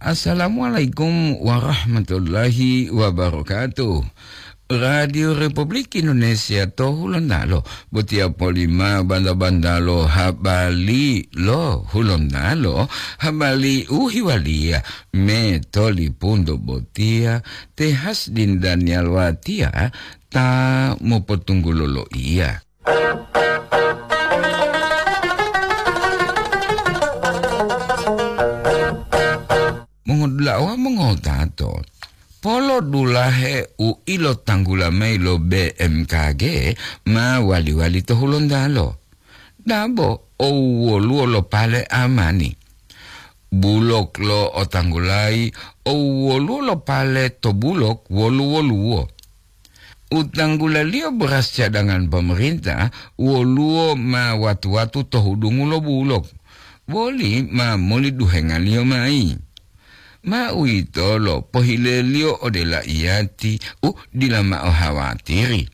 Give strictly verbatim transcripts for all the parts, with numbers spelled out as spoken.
Assalamualaikum warahmatullahi wabarakatuh. Radio Republik Indonesia to Hulontalo, botiya polima banda-bandalo habari lo Hulontalo, habari u hiwaliya me tolipunto botiya, te Hasdin Daniel Watiya ta mopotunggulo loiya. Mongodula'a wawu mongotato, polo dulahe u ilotanggula mayi lo B M K G ma wali-wali to Hulontalo. Dabo o woluwo lo pale amani. Bulok lo otanggulayi o woluwo lo pale to bulok wolu-woluwo. U tanggulaliyo beras cadangan pemerintah woluwo ma watu-watu to hudungu lo bulok, boli ma moli duhengaliyo mayi. Ma uwitolo pohileliyo ode laiyati u dila mao hawatiri.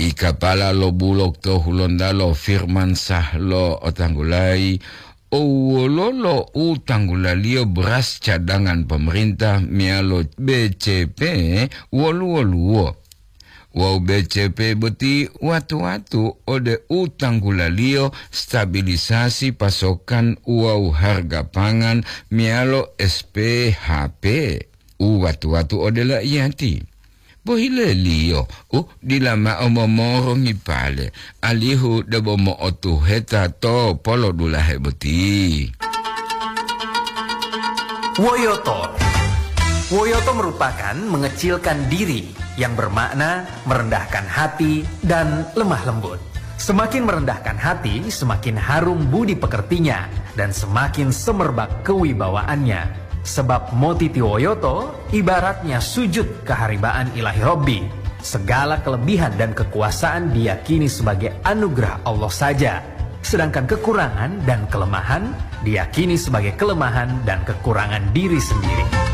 I kapala lo bulok to Hulontalo Firman Sah lo otanggulayi, o wololo u tanggulaliyo beras cadangan pemerintah meyalo B C P wolu-woluwo. Wawu B C P boti watu-watu ode u tanggulaliyo stabilisasi pasokan wawu harga pangan meyalo S P H P u watu-watu ode laiyati. Pohileliyo u dila mao momorongi pale, alihu debo mo'otuheta to polodulahe boti. Woyoto. Woyoto merupakan mengecilkan diri, yang bermakna merendahkan hati dan lemah lembut. Semakin merendahkan hati, semakin harum budi pekertinya, dan semakin semerbak kewibawaannya. Sebab motitiwoyoto ibaratnya sujud keharibaan Ilahi Robbi. Segala kelebihan dan kekuasaan diyakini sebagai anugerah Allah saja, sedangkan kekurangan dan kelemahan diyakini sebagai kelemahan dan kekurangan diri sendiri.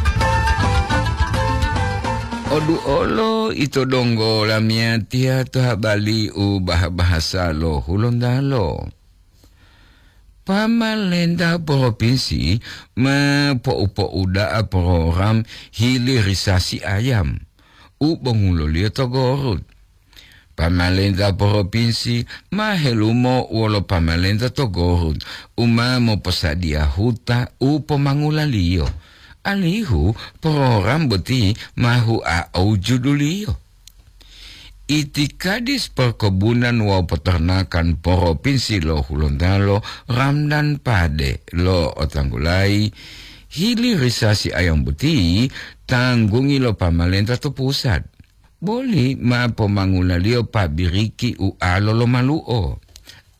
Odu olo ito donggo lamiyatiya to habari u bah-bahasa lo Hulontalo. Pamalenta propinsi ma po'upo'uda'a program hilirisasi ayam u bonguloliyo to Gorut. Pamalenta propinsi ma helumo wolo pamalenta to Gorut u ma moposadiya huta u pomangulaliyo, alihu program boti ma hua'ou juduliyo. Itikadis Perkebunan wawu Peternakan Propinsi lo Hulontalo, Ramdan Pade, lo otanggulayi, hilirisasi ayam boti tanggungi lo pamalenta to pusat. Boli ma pomangulaliyo pabiriki ualo lomalu'o,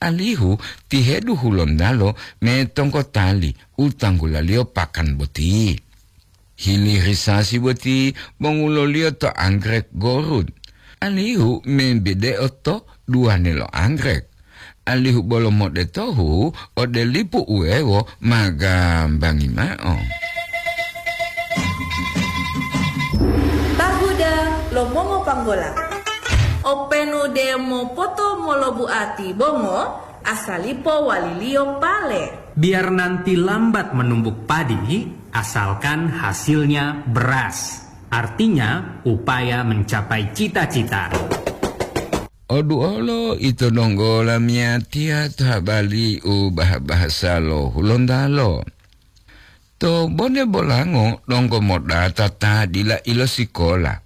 alihu tihedu Hulontalo me tonggotali u tanggulaliyo pakan boti. Hilirisasi boti bonguloliyo to anggrek Gorut, alihu membide'o to duwanelo anggrek, alihu bolo modetohu ode lipu uwewo ma gambangi mao. Tahuda lo mongopanggola. Openu de mopoto molobuati bongo, asalipo waliliyo pale. Biar nanti lambat menumbuk padi, asalkan hasilnya beras. Artinya, upaya mencapai cita-cita. Oduolo ito donggo lamiyatiya to habari u bah-bahasa lo Hulontalo. To Bone Bolango donggo modata ta dila ilosikola.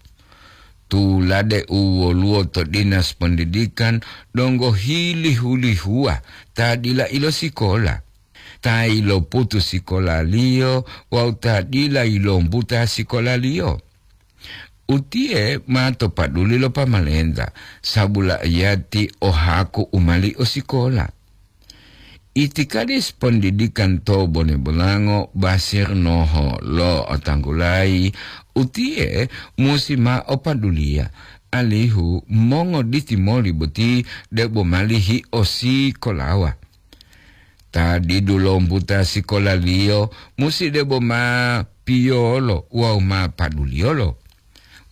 Tulade u woluwo to Dinas Pendidikan donggo hilihu-lihuwa ta dila ilosikola, ta iloputu sikolaliyo wawu ta dila yilombuta sikolaliyo. Utiye ma to paduli lo pamalenta, sabu la'iyati o haku u mali o sikola. Itikadis Pondidikan to Bone Bolango Basir Noho lo otanggulayi, utiye musi ma opaduliya, alihu mongoditi moli boti debo mali hiosikolawa. Ta didu lombuta sikolaliyo musi debo ma piyolo wawu ma paduliyolo.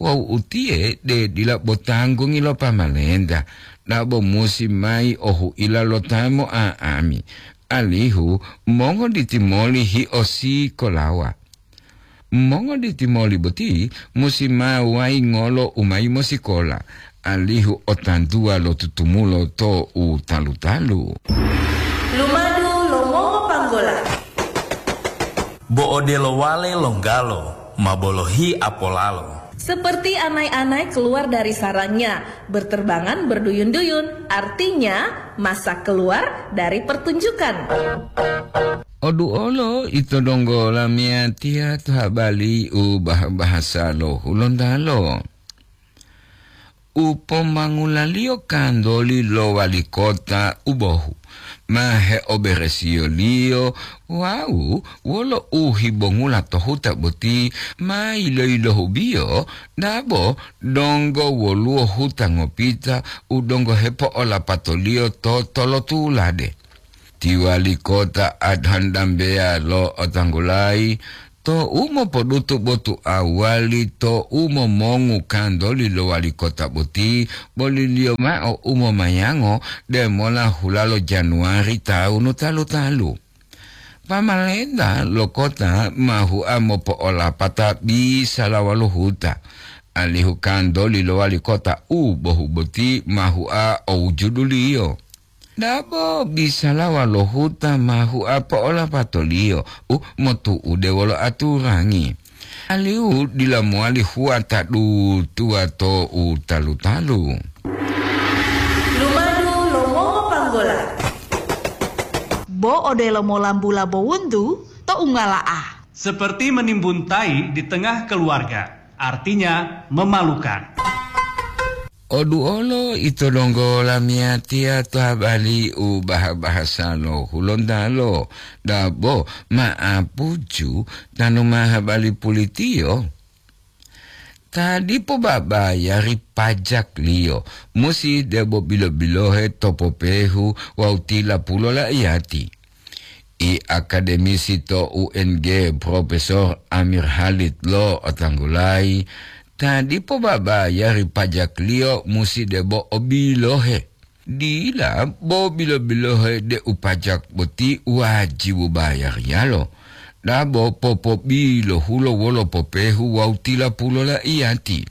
Wawu utiye de dila bo tanggungi lo pamalenta, dabo musi mayi o huila lo ta mo'a'ami, alihu mongoditi moli hiosikolawa. Mongoditi moli boti musi ma waingolo u mayi mosikola, alihu otantuwa lo tutumulo to u talu-talu. Lumadu lo mongopanggola. Bo odelo wale longgalo, ma bolohi apolalo. Seperti anai-anai keluar dari sarangnya, berterbangan berduyun-duyun, artinya masak keluar dari pertunjukan. Oduolo ito donggo lamiyatiya to habali u bah-, bahasa lo Hulontalo. U pomangulaliyo kantoli lo wali kota u bohu, ma heoberesiyoliyo wawu wolo u hibongula to huta boti ma yiloyilohubiyo, dabo donggo woluwo huta ngopita u donggo hepo'olapatoliyo to tolotulade. Ti wali kota Adhan Dambeya lo'otanggulayi, to'u mopodutu botu awali to'u momongu kantoli lo wali kota boti, boliliyo mao u momayango demola hulalo Januwari tawunu talu-talu. Pamalenta lo kota ma hua mopo'olapata bisalawa lo huta, alihu kantoli lo wali kota u bohu boti ma hua o wujuduliyo. Dabo bisalawa lo huta ma hua po'olapatoliyo u motu'ude wolo aturangi, alihu dila mowali hua ta dutuwa to u talu-talu. Lumadu lo mongopanggola. Bo odelo molambula bowuntu to ungala'a. Seperti menimbun tai di tengah keluarga, artinya memalukan. Oduolo ito donggo lamiyatiya to habali u baha-bahasa lo Hulontalo, dabo ma'apuju tanu ma habali pulitiyo. Ta dipo babayari pajakliyo musi debo bilo-bilohe to popehu wawu tilapulo laiyati. I akademisi to U N G, Profesor Amir Halid lo'otanggulayi, ta dipo babayari pajakliyo musi debo o bilohe. Dila bo bilo-bilohe deu pajak boti wajibu bayariyalo, dabo popobilohulo wolo popehu wawu tilapulo laiyati.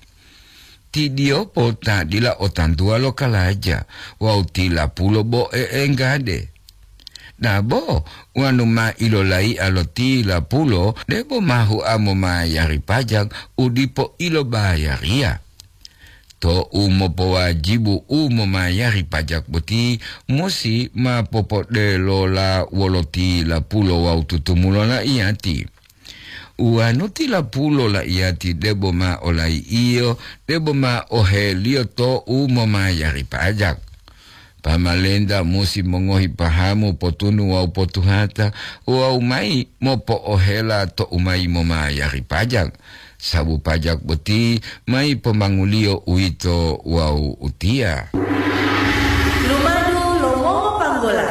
Ti diyopo ta dila o tantuwa lo kalaja wawu tilapulo bo e'enggade. Dabo wonu ma ilolaiya lo tilapulo debo ma hua momayari pajak u dipo ilobayariya. To'u mopowajibu u momayari pajak boti musi ma popodelola wolo tilapulo wawu tutumulo laiyati. Uwanu tilapulo laiyati debo ma olai'iyo, debo ma oheliyo to'u momayari pajak. Pamalenta musi mongohi pahamu potunu wawu potuhata wawu mayi mopo'ohela to'u mayi momayari pajak, sabu pajak boti mayi pomanguliyo uwito wawu utiya. Lumadu lo mongopanggola.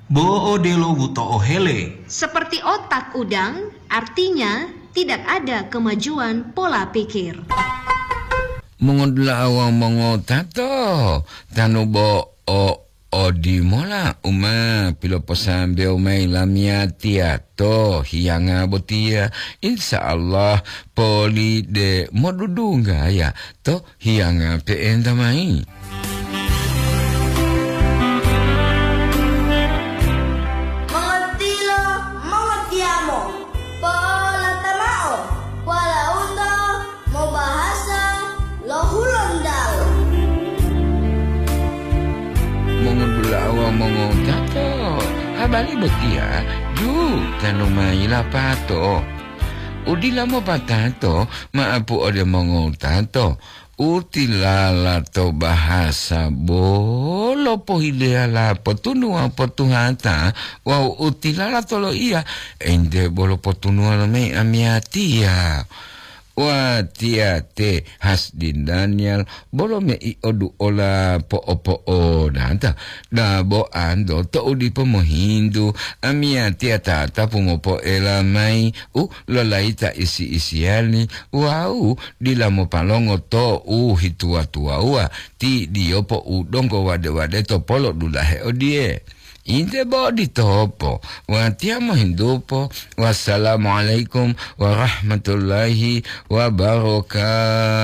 Bo odelo wuto'ohele. Seperti otak udang, artinya tidak ada kemajuan pola pikir. Mongodula'a wawu mongotato, tanu bo o odimola u ma piloposambewo mayi lamiyatiya to hiyanga botiya, insya Allah poli de modudunggaya to hiyanga pe'enta mayi. Mongotilo, mongotiyamo, po'olata mao, walauto mobahasa lo Hulontalo. Mongodula'a wawu mongotato, habari botiya ju tanu mayi lapato. Udila mopatato ma'apu ode mongotato, utilala to bahasa bolo pohileyala potunuwa potuhata wawu utilala to loiya ente bolo potunuwa lo mei amiyatiya. Watiya te Hasdin Daniel bolo mei oduola po'opo'odata, dabo anto to'u dipo mohintu, amiyatiya tatapu mopoela mayi u lolayita isi-isiyali wawu dila mopalongo to u hituwa-tuwawuwa, ti diyopo u donggo wade-wade to polo dulahe odiye, Inte bo ditopo, watiya mohintupo. Wassalamualaikum warahmatullahi wabarakatuh.